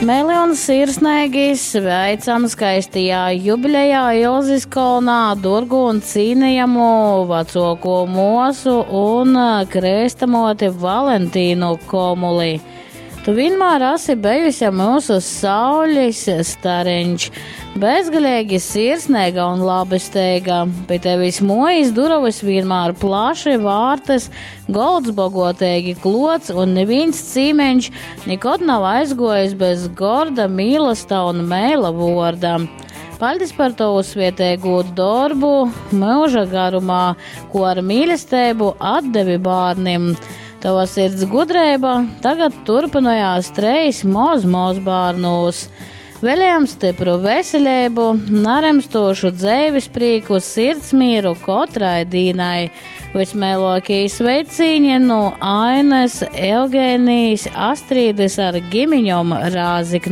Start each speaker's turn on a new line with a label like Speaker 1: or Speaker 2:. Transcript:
Speaker 1: Meili un sirsneigi sveicam skaistajā jubilejā Ilzis kolnā durgu un cīnejamu vecoko muosu un krystamoti Valentīnu Komuli. Tu vienmēr esi bijusi mūsu saules stareņš, bezgalīgi sirsnīga un labesteiga. Pie tevis mojas durovas vienmēr plaši vārtas, golds bogotīgi klots un neviens cīmeņš nekad nav aizgojis bez gorda mīlesta un mēla vorda. Paldies par tavu svietēgo darbu mūža garumā, ko ar mīlestību atdevi bērniem. Tava sirds gudrība tagad turpinājās treis moz moz bērnūs. Vēlējam stipru veselību, naremstošu dzēvis prieku, sirdsmīru katrai dīnai. Vismēlākie sveicīņi no Ainas, Eugēnijas, Astrīdes ar gimiņom Rāziknē.